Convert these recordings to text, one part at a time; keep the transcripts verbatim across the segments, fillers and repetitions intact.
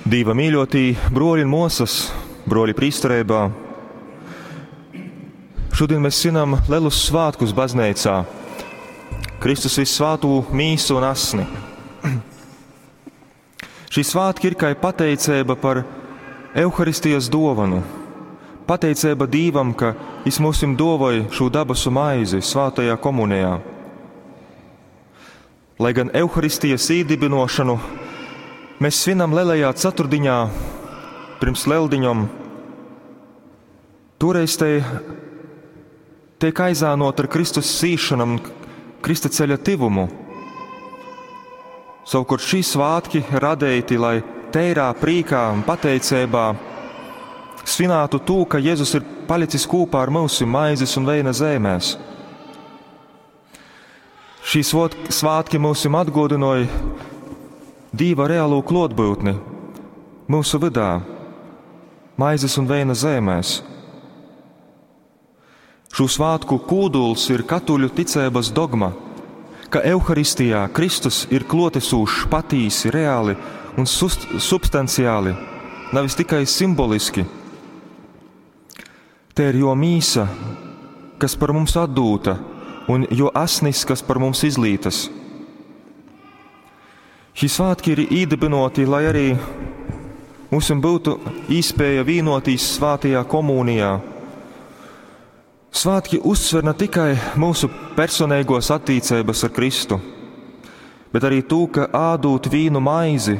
Dīva mīļotī bruoļi un muosys, bruoļi prīstereibā, šodien mēs svinam lielus svētkus bazneicā, Kristus vissvātū mīsu un asni. Šī svētki ir kā pateicība par Euharistijas dovanu, pateicība Dīvam, ka Jis mūsim dovoj šo dabasu maizi svātajā komunijā. Lai gan Euharistijas īdibinošanu mēs svinam lielajā ceturtdiņā, pirms lieldiņom, toreiz te tiek aizānot ar Kristus sīšanu un Krista ceļa tivumu. Savukārt šī svētki radēti, lai teirā prīkā un pateicībā svinētu to, ka Jēzus ir palicis kopā ar mums maizes un veina zemēs. Šī svētki mums atgodināja Dīva reālo klotbūtni mūsu vidā, maizes un veina zemēs. Šo svētku kūduls ir katoļu ticības dogma, ka Euharistijā Kristus ir klotesūšs patīsi, reāli un substanciāli, nevis tikai simboliski. Te ir jo mīsa, kas par mums atdūta, un jo asnis, kas par mums izlītas. Šī svētki ir īdibinoti, lai arī mums būtu īspēja vīnotīs svātajā komunijā. Svētki uzsver ne tikai mūsu personīgos attiecības ar Kristu, bet arī to, ka ādūt vīnu maizi,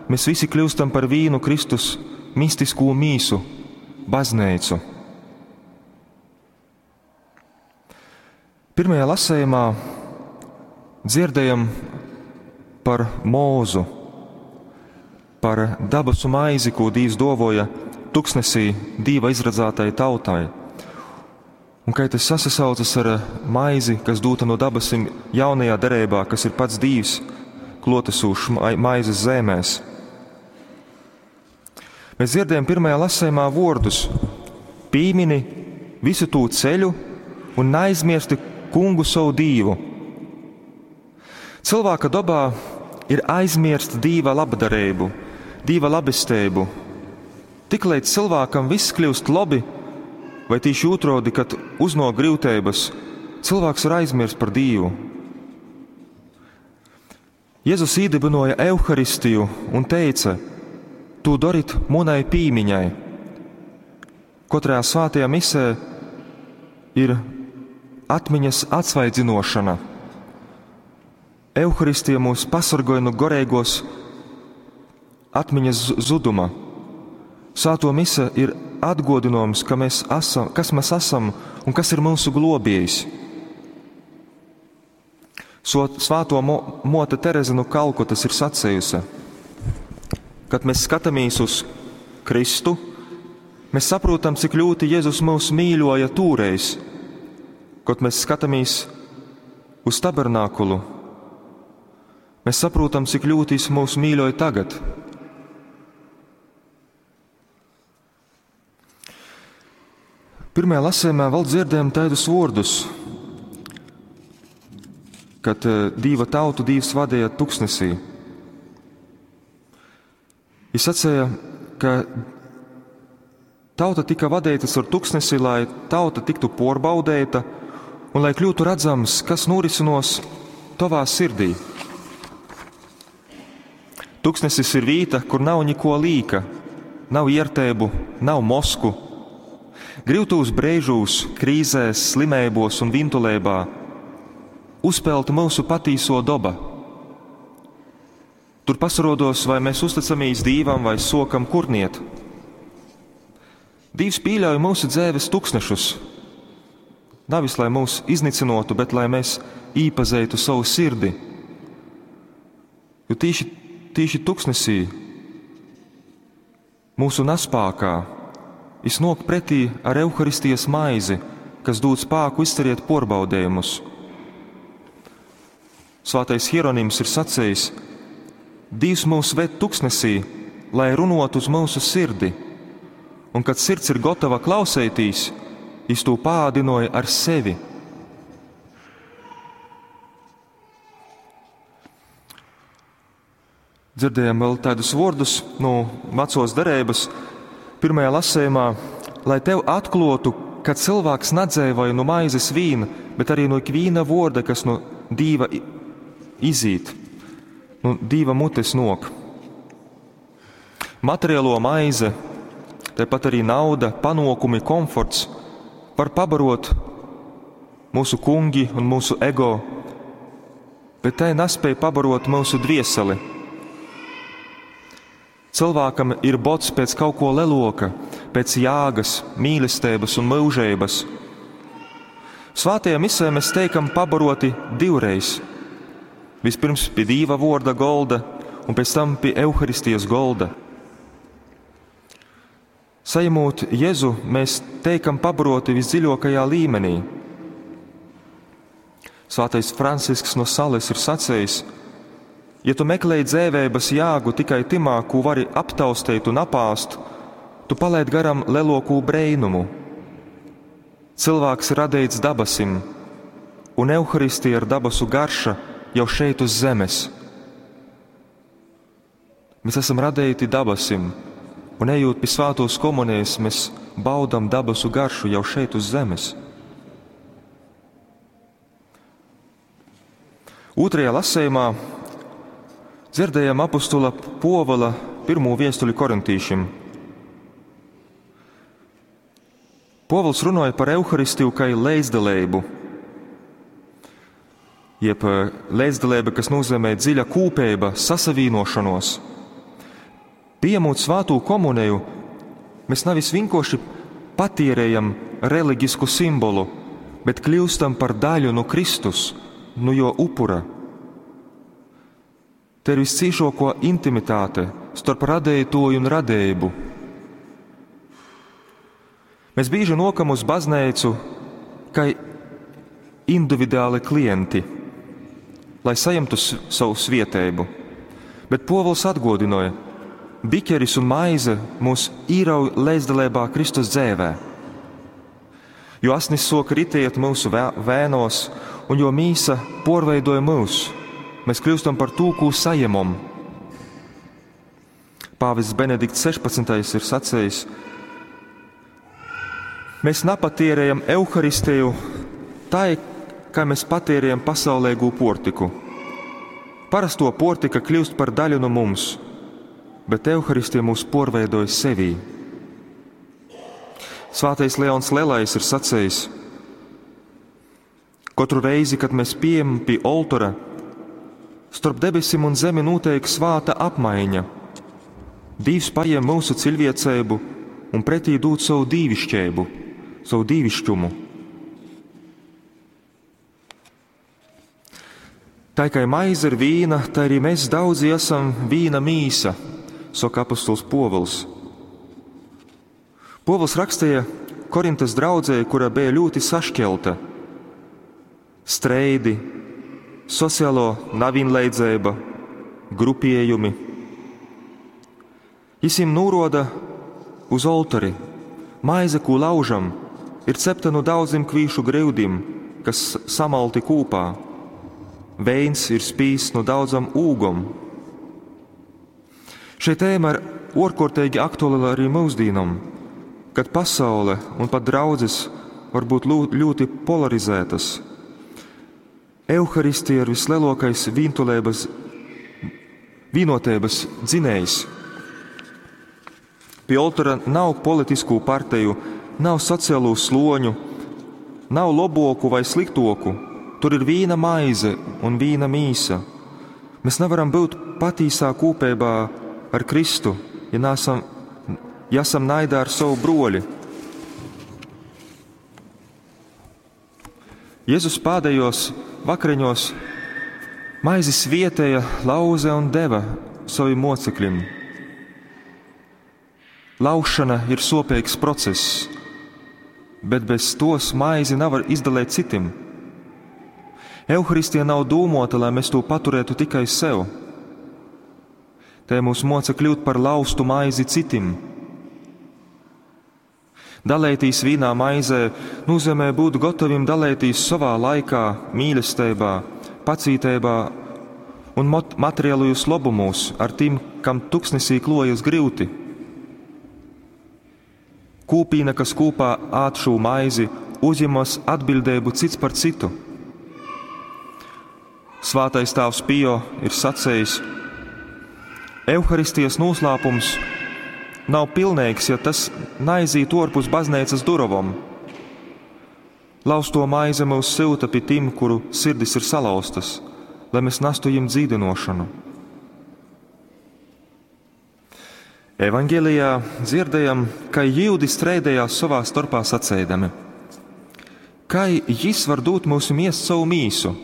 mēs visi kļūstam par vīnu Kristus mistisko mīsu, baznīcu. Pirmajā lasējumā dzirdējam par mūzu, par dabasu maizi, ko Dievs dovoja tuksnesī Dieva izradzētai tautai. Un kā tas sasaucas ar maizi, kas dūta no dabasim jaunajā derībā, kas ir pats Dievs, klotesūšs maizes zemēs. Mēs dzirdējam pirmajā lasējumā vārdus: pīmini visu tū ceļu un neaizmirsti kungu savu dīvu. Cilvēka dabā ir aizmirst Dīva labdarību, Dīva labestību. Tiklīdz cilvēkam viss kļūst labi, vai tīši otrādi, kad uznāk grūtības, cilvēks var aizmirst par Dievu. Jēzus īdibinoja Euharistiju un teica: "Tu darit munai pīmiņai." Katrā svētajā misē ir atmiņas atsvaidzinošana. Euharistija mūs pasargoja no garīgos atmiņas zuduma. Svēto mise ir atgodinājums, ka mēs esam, kas mēs esam un kas ir mūsu globējs. Svēto mote Tereze no Kalkutas ir sacījusi, kad mēs skatāmies uz Kristu, mēs saprotam, cik ļoti Jēzus mūs mīļoja tūreiz. Kad mēs skatāmies uz tabernākulu, mēs saprotam, cik ļoti viņš mūs mīļoja tagad. Pirmajā lasījumā vēl dzirdējam tādus vārdus, kad Dieva tautu Dievs vadīja tuksnesī. Viņš sacīja, ka tauta tika vadīta caur tuksnesi, lai tauta tiktu porbaudēta un lai kļūtu redzams, kas norisinās tavā sirdī. Tuksnesis ir vīta, kur nav neko līka, nav iertēbu, nav mosku. Grivtūs brēžūs, krīzēs, slimībos un vintulībā uzpelta mūsu patīso doba. Tur pasarodos, vai mēs uzticamies Dīvam vai sokam kurniet. Dīvs pieļauj mūsu dzēves tuksnešus, nevis lai mūs iznicinotu, bet lai mēs īpazeitu savu sirdi. Jo tīši, tīši tuksnesī, mūsu nespākā, iznok pretī ar Euharistijas maizi, kas dod spāku izcerēt porbaudējumus. Svētais Hieronyms ir sacījis: Dievs mūs ved tuksnesī, lai runotu uz mūsu sirdi, un kad sirds ir gatava klausētīs, Jis to pādinoja ar sevi. Dzirdējam vēl tādus vārdus no vecos derības pirmajā lasījumā, lai tev atklotu, ka cilvēks nadzēvoja no maizes vīna, bet arī no ikvīna vorda, kas no Dīva izīt, no Dīva mutes nok. Materiālo maize, tāpat arī nauda, panokumi, komforts var pabarot mūsu kungi un mūsu ego, bet tai nespēj pabarot mūsu dvieseli. Cilvēkam ir bots pēc kaut ko leloka, pēc jāgas, mīlestības un mūžības. Svātajā misē mēs teikam pabaroti divreiz. Vispirms pie Dīva vorda golda un pēc tam pie Euharistijas golda. Saņemot Jēzu, mēs teikam pabaroti visdziļākajā līmenī. Svētais Francisks no Sales ir sacījis: ja tu meklēji dzēvēbas jāgu tikai timā, ko vari aptaustīt un apāst, tu palaid garam lelokū breinumu. Cilvēks ir radīts dabasim, un Euharistija ir dabasu garša jau šeit uz zemes. Mēs esam radīti dabasim, un ejot pie svētos komunijas, mēs baudam dabasu garšu jau šeit uz zemes. Otrajā lasījumā dzirdējām apostula Povala pirmo viestuli korintīšiem. Povals runāja par Euharistiju kā līdzdalību, jeb līdzdalība, kas nozīmē dziļa kūpība, sasavīnošanos. Pieņemot svēto komuniju, mēs nevis vienkārši patierējam reliģisku simbolu, bet kļūstam par daļu no Kristus, no jo upura. Te ir viscīšāko intimitāte starp radētoju un radējumu. Mēs bieži nokam uz baznīcu kā individuāli klienti, lai saņemtu savu svietēbu. Bet Povuls atgodināja, biķeris un maize mūs īrauj līdzdalībā Kristus dzēvē. Jo asnis soka ritēt mūsu vēnos, un jo mīsa porveidoja mūs, mēs kļūstam par to, ko saņemam. Pāvests Benedikts sešpadsmitais ir sacījis: mēs napatierējam Euharistiju tā, kā mēs patērējam pasaulēgo portiku. Parasto portika kļūst par daļu no mums, bet Euharistija mūs porveidoja sevī. Svētais Leons Lielais ir sacījis: katru reizi, kad mēs pieejam pie oltora, starp debesim un zemi notiek svāta apmaiņa. Dievs paņem mūsu cilvēcību un pretī dod savu dīvišķību, savu dīvišķumu. Tā kā maize ir vīna, tā arī mēs daudzi esam vīna mīsa, saka apostols Povuls. Povuls rakstīja Korintas draudzē, kura bija ļoti sašķelta. Streidi, sociālo nevienlīdzība, grupējumi. Jis viņiem noroda uz oltori. Maize, ko laužam, ir cepta no daudziem kvīšu grūdim, kas samalti kūpā. Veins ir spīsts no daudzam ūgom. Šī tēma ir ārkārtīgi aktuāla arī mūsdīnam, kad pasaule un pat draudzes var būt ļoti polarizētas. Euharistija ir vislielākais vīntulības, vienotības dzinējs. Pie oltora nav politisku partiju, nav sociālo sloņu, nav loboku vai sliktoku. Tur ir vīna maize un vīna mīsa. Mēs nevaram būt patīsā kūpībā ar Kristu, ja nesam, ja esam naidā ar savu broļi. Jēzus pēdējos vakariņos maizi svietēja, lauze un deva saviem mocekļiem. Laušana ir sopīgs process, bet bez tos maizi nevar izdalīt citim. Euharistija nav dūmota, lai mēs to paturētu tikai sev. Te mūs moca kļūt par laustu maizi citim. Dalētīs vīnā maizē nozīmē būt gatavim dalētīs savā laikā, mīlestībā, pacītībā un materiālajos lobumūs ar tim, kam tuksnesī klojas gryuti. Kūpīna, kas kūpā ād šū maizi, uzņemas atbildību cits par citu. Svātais tāvs Pio ir sacējis: Euharistijas noslēpums nav pilnīgs, ja tas naizīt orpus baznīcas durovom. Lausto maize mūs silta pie tim, kuru sirdis ir salauztas, lai mēs nastu viņiem dzīdinošanu. Evangelijā dzirdējam, ka jūdi streidējās savā starpā sacēdami: Kai jis var dūt mūsu miest savu mīsu?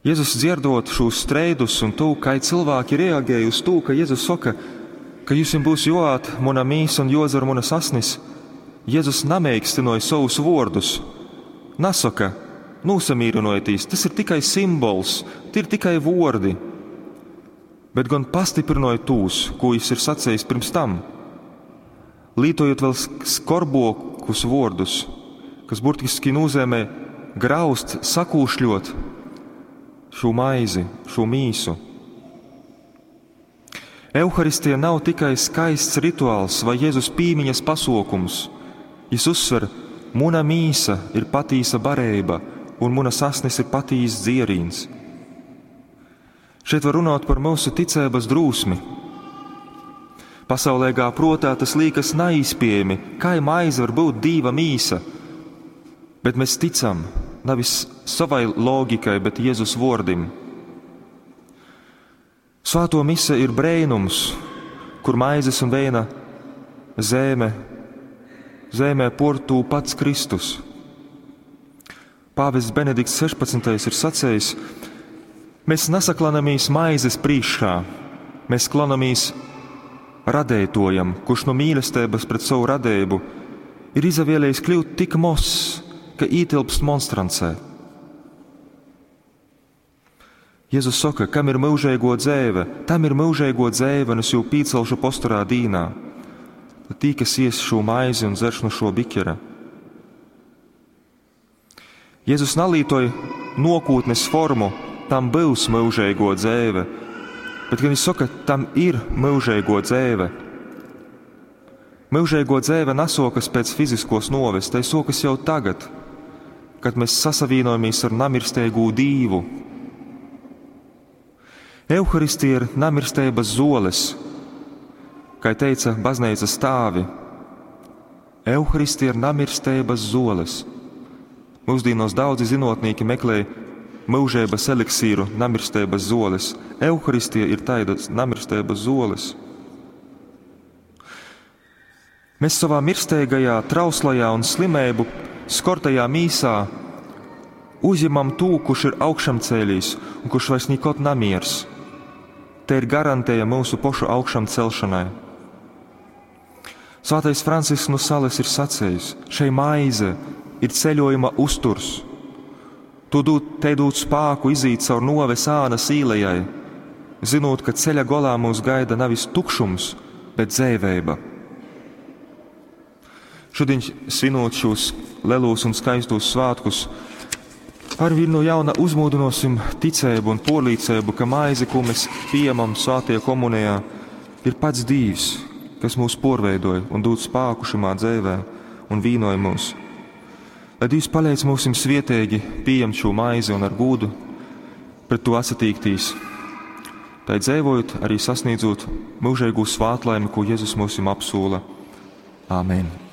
Jēzus dzirdot šos streidus un to, kā cilvēki reaģēja uz to, ka Jēzus saka, ka jums būs joāt muna mīsa un jodzer munas asnis, Jēzus namēkstinoja savus vārdus. Nasaka, nosamīrinojieties, tas ir tikai simbols, tie ir tikai vordi, bet gan pastiprinoja tūs, ko jis ir sacējis pirms tam, lītojot vēl skorbokus vārdus, kas burtiski nozīmē graust, sakūšļot šo maizi, šo mīsu. Euharistija nav tikai skaists rituāls vai Jēzus pīmiņas pasokums. Jis uzsver, muna mīsa ir patīsa barība un muna sasnis ir patīs dzierīns. Šeit var runāt par mūsu ticības drūsmi. Pasaulīgā protā tas liekas neizpējami, kā maize var būt dīva mīsa, bet mēs ticam nevis savai loģikai, bet Jēzus vārdim. Svēto mise ir brēnums, kur maizes un vēna zēme, zēmē portū pats Kristus. Pāvests Benedikts sešpadsmitais ir sacējis: mēs nesaklanamies maizes priekšā, mēs klanamies radētojam, kurš no mīlestības pret savu radējumu ir izavēlējis kļūt tik mozs, ka ietilpst monstrancē. Jēzus saka, kam ir mūžīgo dzēve, tam ir mūžīgo dzēve, un es jū pīcelšu posturā dīnā. Tad tī, kas ies šo maizi un dzerš no šo bikera. Jēzus nalītoja nokūtnes formu, tam būs mūžīgo dzēve, bet, kad viņš saka, tam ir mūžīgo dzēve. Mūžīgo dzēve nesokas pēc fiziskos noves, tai sokas jau tagad, kad mēs sasavīnojamies ar namirstēgu dīvu. Euharistija ir namirstības zoles, kā teica baznīcas tāvi. Euharistija ir namirstības zoles. Mūsdienos daudzi zinotnieki meklē mūžības eliksīru, namirstības zoles. Euharistija ir tādas namirstības zoles. Mēs savā mirstīgajā, trauslajā un slimību skortajā mīsā uzņemam to, kurš ir augšamcēlījis un kurš vairs nekad namiers. Te ir garantēja mūsu pošu augšam celšanai. Svētais Francisks no Sales ir sacējis, šai maize ir ceļojuma uzturs. Tu dod, te dod spāku izīt caur noves ānas īlejai, zinot, ka ceļa golā mūs gaida nevis tukšums, bet dzēvēba. Šodien, svinot šos lelos un skaistos svētkus, arvien no jauna uzmodinosim ticēbu un porlīcēbu, ka maize, ko mēs pieņemam svētajā komunijā, ir pats Dīvs, kas mūs porveidoja un dod spāku šimā dzēvē un vīnoja mūs. Lai Dievs palīdz mūsim svietīgi pieņemt šo maizi un ar gūdu pret to atsatīktīs, tai dzēvojot arī sasniedzot mūžīgu svētlaimi, ko Jēzus mūsim apsūla. Āmen!